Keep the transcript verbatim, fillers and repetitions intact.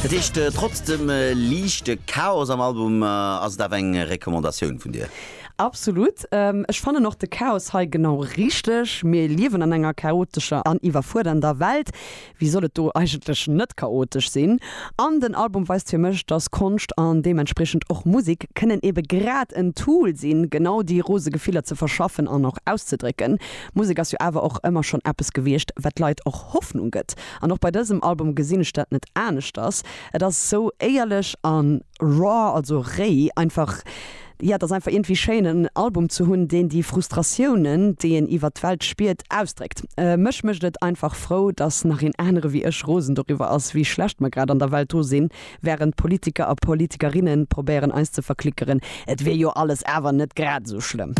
Dat heescht trotz dem liichte Chaos am Album ass et awer eng Recommandatioun vun dir. Absolut. Ech fannen och de Chaos hei genau richteg. Mir liewen an enger chaotescher an iwwerfuerdernder Welt. Wéi soll et do eigentlech net chaotesch sinn? An den Album weist fir mech, dass Konscht an deementspriechend och Musek kënnen ebe grad en Tool sinn, genau déi rose Gefiller ze verschaffen an och auszedrécken. Musek ass jo awer och ëmmer schonn eppes gewiescht, wat Leit och Hoffnung gëtt. An och bei dësem Album gesinn ech dat net aneschters. Et ass sou éierlech an raw, also réi, einfach, ja, et ass einfach iergendwéi schéin en Album ze hunn, deen déi Frustratiounen, déi een iwwer d'Welt spiert, ausdréckt. Mech mécht et einfach frou, dass nach een anere wéi ech rosen doriwwer ass, wéi schlecht mer grad an der Welt dru sinn, wärend Politiker a Politikerinne probéieren eis ze verklickeren, et wier jo alles awer net grad esou schlëmm.